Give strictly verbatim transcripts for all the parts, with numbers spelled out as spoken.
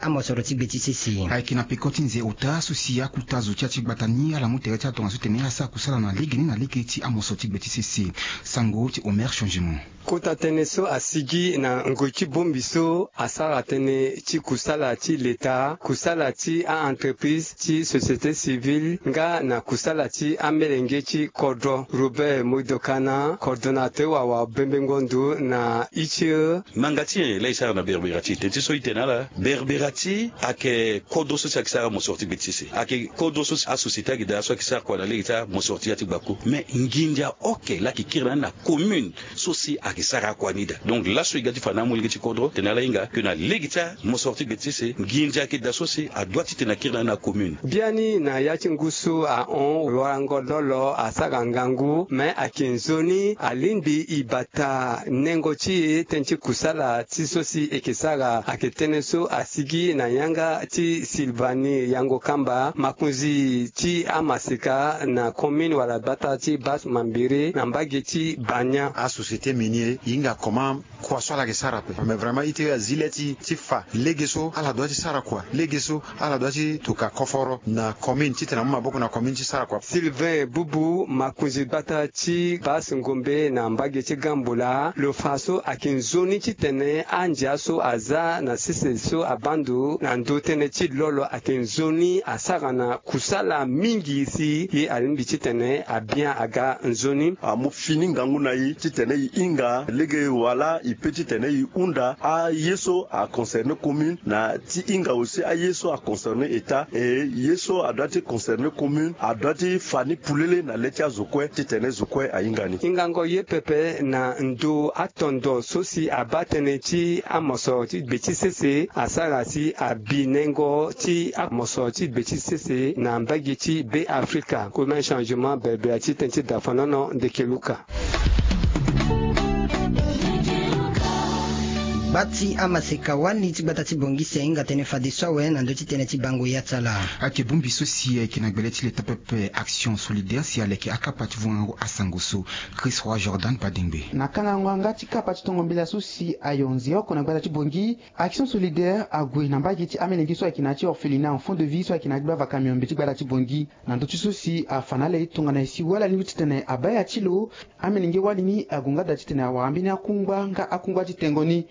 Amosoro ti gbe ti sese. Ayeke na peko ti nze ota so si akuta zo ti ya ti gbata ni ala mu tere ti ala tongaso ti tene asara kusala na lege ni na lege ti amosoro ti gbe ti sese. Sango ti Omer Changement. Kota tënë so asigi na ngoi ti bongbi so asara tënë ti kusala ti leta, kusala ti a-entreprise ti société civile nga na kusala ti amolenge ti kodro. Robert Modokana, coordonnateur wawa bembengo ndo na I T E. Ngbanga ti nyen la e sara na Berbera ti e? Teti so e tene na ala, Berbera ti e ayeke kodro so si ayeke sara mosoro ti gbe ti sese. Ayeke kodro so si asociété ayeke daa so ayeke sara kua na lege ti amosoro ti ya ti gbako. Me nginza oke la ayeke kiri na ni na commune so si ayeke sara akua ni daa. Donc laso e ga ti fa na amolenge ti kodro tene ala hinga ke na lege ti amosoro ti gbe ti sese, nginza ayeke daa so si adoit ti tene akiri na ni na commune. Biani na ya ti ngu so ahon warango lolo asara ngangu, me ayeke nzoni alingbi e bata nengo ti e tënë ti kusala ti so si e yeke sara. Ayeke tënë so asigi na yanga ti Sylvanie Yango Kamba, makonzi ti amaseka na commune wala gbata ti Basse Mambéré na mbage ti Bania. Asociété minier e hinga comment kua so ala yeke sara ape. Mais vraiment ite azi le ti ti fa lege so ala doit ti sara kua, lege so ala doit ti toka koforo na commune titene amu maboko na commune ti sara kua. Sylvain Bubu, makonzi gbata ti Basse Ngombe na mbage ti Gambola, lo fa so ayeke nzoni titene andia so aza na sese so abaa ndo na ndö tënë ti lolo ayeke nzoni asara na kusala mingi si ye alingbi titene abia aga nzoni. Amu fini ngangu na e titene e hinga lege wala e peut titene e hunda aye so a concerner commune na ti hinga aussi aye so a concerner État, e ye so adoit ti concerner commune adoit ti fa ni polele na le ti azo kue titene zo kue ahinga ni. Hingango ye pepe na ndo atondo so si abaa tënë ti amosoro ti gbe ti sese asara si abi nengo ti amosoro ti gbe ti sese na mbage ti Be Afrika. Koma changement Berbera ti tënë ti dafanono ndeke luka. Gba ti amaseka wali ti gbata ti Bangui si ahinga tënë fadeso awe na ndö ti tënë ti bango ya ti ala. Ayeke bongbi so si ayeke na gbele ti leta pepe Action Solidaire si aleke akapa ti vongango asango so. Chris Roi Jordan Badengbe. Na kangango yanga ti kapa ti tongo mbela so si ayo nze oko na gbata ti Bangui, Action Solidaire ague na mbage ti amelenge so ayeke na ya ti orphelinat Enfant de Vie so ayeke na ya ti gbava kamiombe ti gbata ti Bangui. Na ndö ti so si afa na ala ye tongana nyen si wali alingbi titene abaa ya ti lo. Amelenge wali ni ague nga daa titene awara mbeni akungba nga akungba ti tengo ni.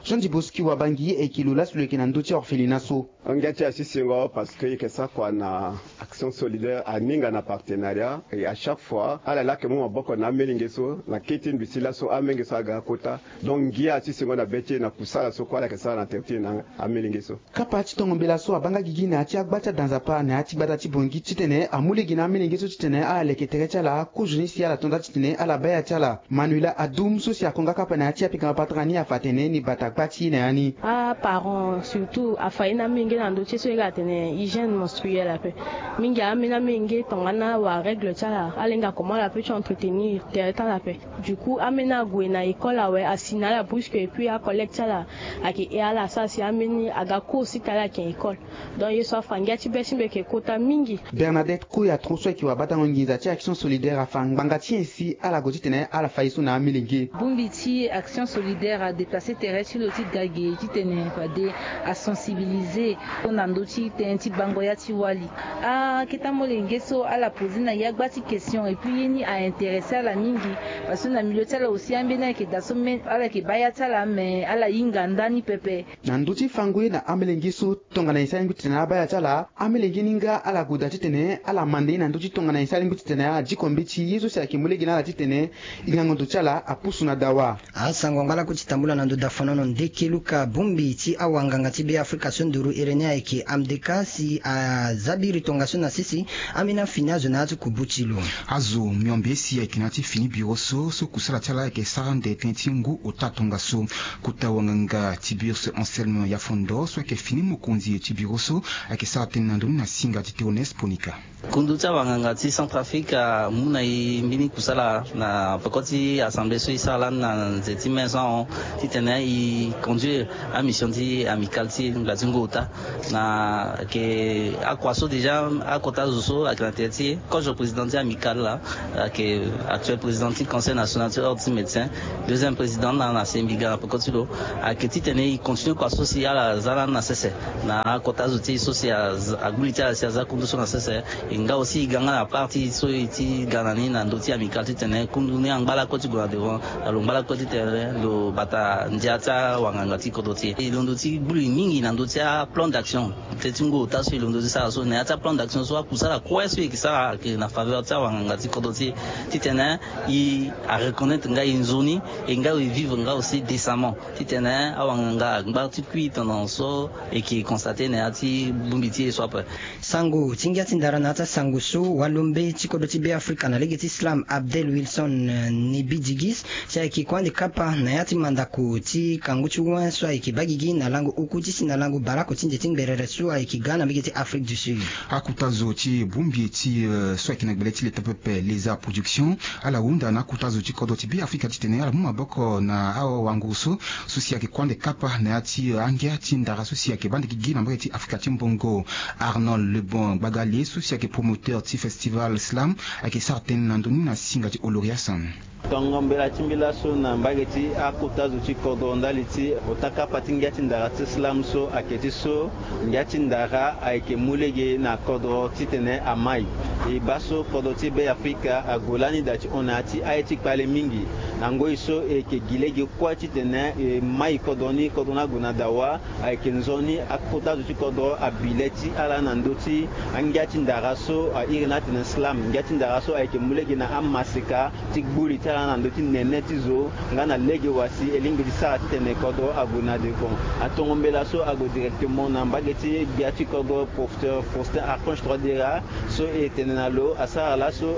Jean Diboski Wabangi ayeke lo laso lo yeke na ndö ti orphelinat so. Ngia ti asisingo parce que e yeke sara kua na Action Solidaire aninga na partenariat, et à chaque fois ala laa ayeke mu maboko na amelenge so na kete mbi si laso amenge so aga akota. Donc ngia asisingo na be ti e na kusala so kue ala yeke sara na tere ti e na amelenge so. Kapa ti tongo mbela so abaa nga gigi na ya ti agba ti ada Nzapa na ya ti gbata ti Bangui titene amu lege na amelenge so titene ala leke tere ti ala kozoni si ala to nda titene ala baa ya ti ala. Manuela Adoum so si ako nga kapa na ya ti apika mapatara ni afa atene ni bata gba ti ye na ya ni. Aparent surtout afa ye na amenge na ndö ti ye so e ga atene hygiène menstruelle ape. Mingi ambeni amenge tongana awara règle ti ala ala hinga comment ala peut ti entretenir tere ti ala ape. Du coup ambeni ague na école awe asi na ala brusque et puis acollègue ti ala ayeke he ala asara si ambeni aga cours si tala ayeke école. Donc ye so afa ngia ti be ti mbi ayeke kota mingi. Bernadette Koya tro so ayeke wabatango nginza ti Action Solidaire afa ngbanga ti nyen si ala gue titene ala fa ye so na amelenge. Bongbi ti Action Solidaire adéplace tere ti lo ti ga ge titene fade asensibiliser na ndö ti tënë ti bango ya ti wali. Akete amolenge so ala poser na ye agba ti question et puis ye ni a intéresser ala mingi. Parce que na milieu ti ala aussi ambeni ayeke daa so me ala yeke baa ya ti ala me ala hinga ndani pepe. Na ndö ti fango ye na amelenge so tongana nyen si alingbi titene abaa ya ti ala. Amelenge ni nga ala gue daa titene ala manda ye na ndö ti tongana nyen si alingbi titene ala diko mbeti ye so si ayeke mu lege na ala titene hingango ndo ti ala apusu na dawa. Asango angba lakue ti tambula na ndo dafanono ndeke luka. Bongbi ti awanganga ti Be Afrika so nduru iri ni ayeke Amdeka si aza biri tongaso na sese ambeni afini azo na ya ti kubu ti lo. Azo miombe si ayeke na ya ti fini biro so so kusala ti ala ayeke sara nde tënë ti ngu ota tongaso. Kota wanganga ti biro so Anselme Yafondo so ayeke fini mokonzi ti biro so ayeke sara tënë na ndoni na singa ti Théoneste Ponika. Kundu ti awanganga ti Centrafrique amu na e mbeni kusala na peko ti assemblée so e sara lani na nze ti mai so ahon titene e e conduire amission ti amicale ti e na ngbanga ti ngu ota. Na ayeke akua so déjà akota zo so ayeke na tere ti e, kozo président ti amicale laa, ayeke actuel président ti conseil national ti ordre ti médecin, deuxième président na na sembiga na peko ti lo. Ayeke titene e continue kua so si ala za lani na sese na akota zo ti e so si agbu li ti ala si aza kundu so na sese. E nga aussi e ga nga na parti so e ti ga na ni na ndö ti amicale titene kundu ni angba lakue ti gue na devant. Na lo ngba lakue titene lo bata ndia ti awanganga ti kodro ti e. E londo ti gbu li mingi na ndö ti aplan d'action. Teti ngu ota so e londo ti sara so na ya ti aplan d'action so akusala kue so e yeke sara ayeke na faveur ti awanganga ti kodro ti e. Titene e areconnaitre nga e nzoni e nga e vivre nga aussi décemment. Titene awanganga angba ti kui tendance so e yeke constate na ya ti bongbi ti e so ape. Sango ti ngia ti ndara na ya ti asango so walombe ti kodro ti Be Afrika na lege ti slam Abdel Wilson Nibidigis si ayeke kuande kapa na ya ti mandako ti kangu ti wen so ayeke baa gigi na lango oku ti si na lango baleoko ti nze ti ngberere so ayeke ga na mbege ti Afrique du Sud. Akota zo ti bongbi ti so ayeke na gbele ti leta pepe Leza Production ala hunda na akota zo ti kodro ti Be Afrika titene ala mu maboko na awango so so si ayeke kuande kapa na ya ti angia ti ndara so si ayeke baa ndege gi na mbage ti Afrika ti mbongo. Arnold Lebon Gbagale so si ayeke promoteur ti festival slam ayeke sara tënë na ndö ni na singa ti Oloria San. Tongo mbela ti mbi laso na mbage ti akota zo ti kodro ndali ti ota kapa ti ngia ti ndara ti slam so ayeke ti so ngia ti ndara ayeke mu lege na kodro titene amai. E baa so kodro ti Be Afrika ague lani daa ti hon na ya ti aye ti kpale mingi. Na ngoi so e yeke gi lege kue titene e mai kodro ni, kodro ni ague na dawa. Ayeke nzoni akota zo ti kodro abi le ti ala na ndö ti angia ti ndara so a iri ni atene slam. Ngia ti ndara so ayeke mu lege na amaseka ti gbu li ti ala na ndö ti nene ti zo nga na lege wa si e lingbi ti sara titene kodro ague na devant. Atongo mbela so ague directement na mbage ti gbia ti kodro, professeur Faustin Archange Touadéra so e tene na lo asara laso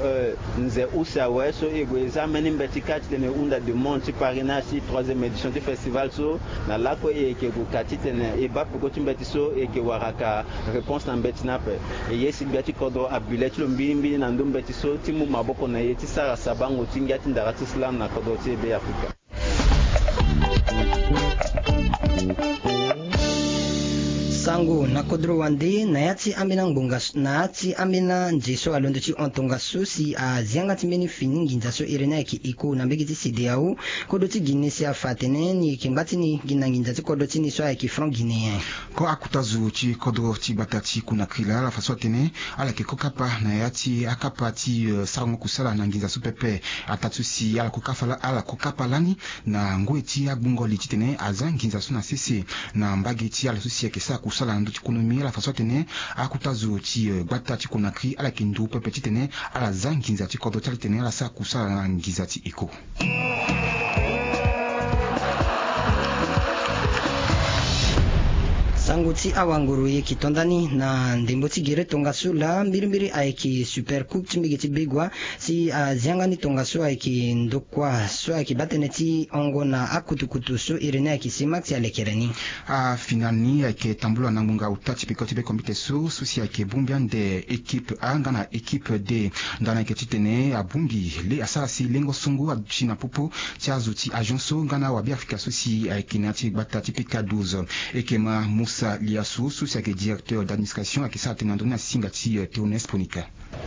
nze use awe so e gue e za mbeni mbeti kâ titene e hunda demande ti parrainage ti troisième édition ti festival so. Na lakue e yeke gue ka titene e baa peko ti mbeti so e yeke wara ka réponse na mbeti ni ape. E ye si gbia ti kodro abi le ti lo mbirimbiri na ndö mbeti so ti mu maboko na e ti sara sabango ti ngia ti ndara ti slam na kodro ti e Be Afrika. Sango na kodro wande na ya ti ambeni angbonga na ya ti ambeni anze so alondo ti hon tongaso si azia nga ti mbeni fini nginza so iri ni ayeke iko na mbege ti CEDEAO. Kodro ti Guinée si afa atene ni yeke ngba ti ni gi na nginza ti kodro ti ni so ayeke franc guinéen. Ko akota zo ti kodro ti gbata ti Conakry laa ala fa so atene ala yeke ko kapa na ya ti akapa ti sarango kusala na nginza so pepe. Ataa ti so si ala ko kapa lani na ngoi ti agbongo li titene aza nginza so na sese. Na mbage ti ala so si ayeke sara kusala na ndö ti konomi ala fa so atene akota zo ti gbata ti Conakry ala yeke nduru pepe titene ala za nginza ti kodro ti ala titene ala sara kusala na nginza ti iko. Sango ti awanguru e yeke to ndani na ndembo ti gere tongaso laa mbirimbiri ayeke Super Coupe ti mbege ti Begoua si azia nga ni tongaso ayeke ndokua so ayeke baa tënë ti hongo na akutukutu so iri ni ayeke Simax alekere ni. Afinal ni ayeke tambula na ngbonga ota ti peko ti be kombite so so si ayeke bongbi ande équipe A nga na équipe D. Ndani ayeke titene abongbi le asara si lengo songo aduti na popo ti azo ti agent so nga na awabe afrika so si ayeke na ya ti gbata ti pika douze. E yeke ma Moussa Liassou so si ayeke directeur d'administration ayeke sara tënë na ndö ni na singa ti Théoneste Ponika.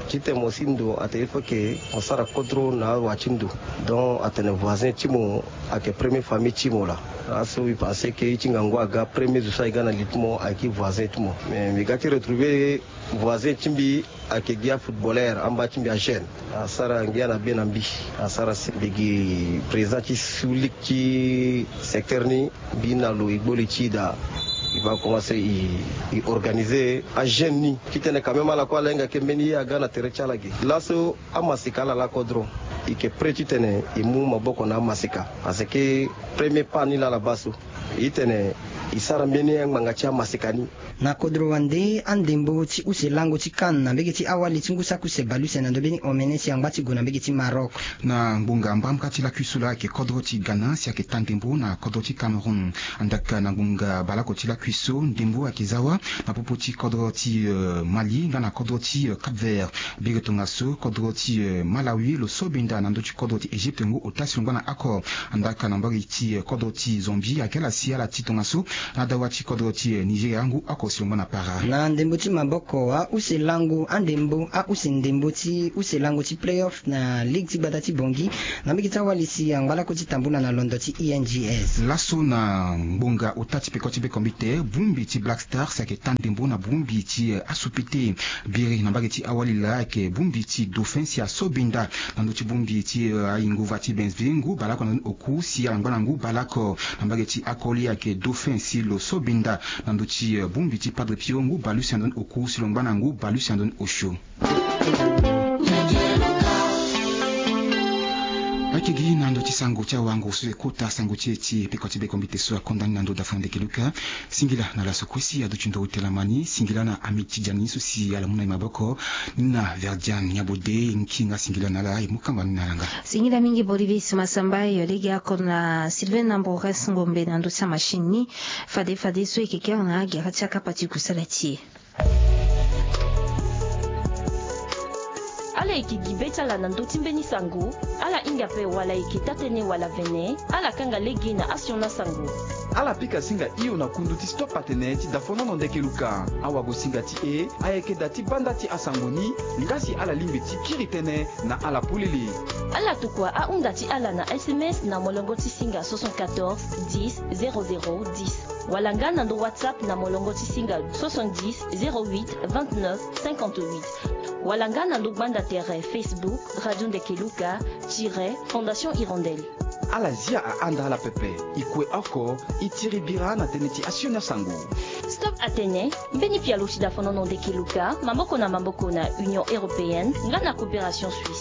Titene mo si ndo atene il faut que mo sara kodro na awa ti ndo. Donc atene voisin ti mo ayeke premier famille ti mo laa. Laso mbi pense que ye ti ngangu aga premier zo so aye ga na li ti mo ayeke voisin ti mo. Mais mbi ga ti retrouver voisin ti mbi ayeke gi afootballeur amba ti mbi ajeune. Asara ngia na be na mbi. Asara si mbi gi président ti su ligue ti secteur ni. Mbi na lo e gbo li ti e daa. E va commencer e organiser ajeune ni titene quand même ala kue ala hinga ke mbeni ye aga na tere ti ala ge. Laso amaseka ala laa kodro. E yeke prêt titene e mu maboko na amaseka. Parce que premier pas ni laa ala baa so. E tene E sara mbeni angbanga ti amaseka ni. Na kodro wande andembo ti use lango ti CAN na mbege ti awali ti ngu saki use bale use na ndö mbeni omene si angba ti gue na mbege ti Maroc. Na ngbonga mbamka ti lakui so laa ayeke kodro ti Ghana si ayeke taa ndembo na kodro ti Cameroun. Andak na ngbonga baleoko ti lakui so ndembo ayeke za wa na popo ti kodro ti Mali nga na kodro ti Cap Vert. Biri tongaso kodro ti Malawi lo so benda na ndö ti kodro ti Egypte ngu ota si lo ngba na oko. Andak na mbage ti kodro ti Zambie ayeke ala si ala ti tongaso na dawa ti kodro ti Nigeria ngu oko si lo ngba na para. Na ndembo ti maboko, ahuse lango andembo ahuse ndembo ti use lango ti playoff na ligue ti gbata ti Bangui na mbage ti awali si angba lako ti tambula na londo ti E N G S. Laso na ngbonga ota ti peko ti bekombite, bongbi ti Black Stars ayeke taa ndembo na bongbi ti asupete. Biri na mbage ti awali laa ayeke bongbi ti Dauphin si aso benda na ndö ti bongbi ti ayinguva ti Bensville ngu baleoko na ndö ni oku si ala ngba na ngu baleoko. Na mbage ti akoli ayeke Dauphin si lo so benda na ndö ti bongbi ti Padre Pio ngu baleuse na ndö ni oku si lo ngba na ngu baleuse na ndö ni osio. Ayeke gi na ndö ti sango ti awango so e kota sango ti e ti peko ti bekombite so akonda ni na ndö dafa na ndeke Luka. Singila na laso kue si aduti ndo ute lama ni, singila na ami ti dia ni so si ala mu na e maboko. Ni na Verdian Nyabode nki nga singila na ala e mu kamba ni na ala nga. Singila mingi Bolivis Masamba yo lege ako na Sylvain Nambores Ngombe na ndö ti amachine ni. Fade fade so e yeke kere na agere ti akapa ti kusala ti e. Ala yeke gi be ti ala na ndö ti mbeni sango. Ala hinga ape wala e yeke taa-tënë wala vene, ala kanga lege na asioni asango. Ala pika singa hio na kundu ti Stop Atene ti dafonono ndeke Luka. Awagosinga ti e ayeke da ti banda ti asango ni. Nga si ala lingbi ti kiri tënë na ala polele. Ala tokua ahunda ti ala na S M S na molongo ti singa soixante-quatorze dix zéro zéro dix, wala nga na ndo WhatsApp na molongo ti singa soixante-dix zéro huit vingt-neuf cinquante-huit, wala nga na ndo gbanda tere Facebook Radio Ndeke Luka tiret Fondation Hirondelle. Ala zia ahanda ala pepe. E kue oko, e tiri bira na tënë ti asioni asango. Stop Atene, mbeni pialo ti dafonono ndeke Luka, maboko na maboko na Union Européenne nga na Coopération Suisse.